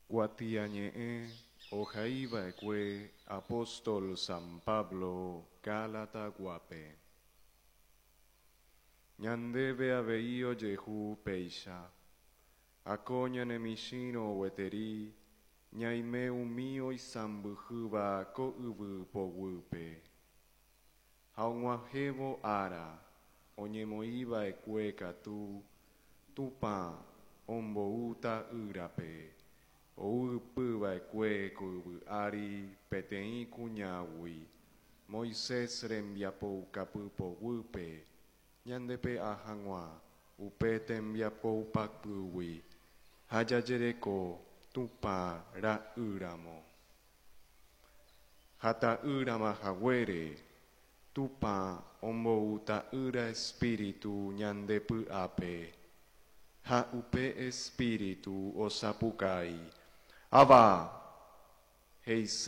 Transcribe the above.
Kuatiañe'ẽ ohaiva'ekue apóstol San Pablo Gálataguápe. Ñandéve avei ojehu péicha. Ako ñane michĩrõ gueteri ñaime umi oisãmbyhýva ko yvy poguýpe. Ha og̃uahẽvo ára oñemoĩva'ekue katu, Tupã ombou Ta'ýrape, ou ypy va'ekue ko yvy ári peteĩ kuñágui, Moisés rembiapoukapy poguýpe, ñande pe'a hag̃ua upe tembiapoupapýgui ha jajereko Tupã ra'ýramo. Ha ta'ýrama haguére, Tupã ombou Ta'ýra Espíritu ñande py'ápe, ha upe Espíritu osapukái, Abba! He'ise.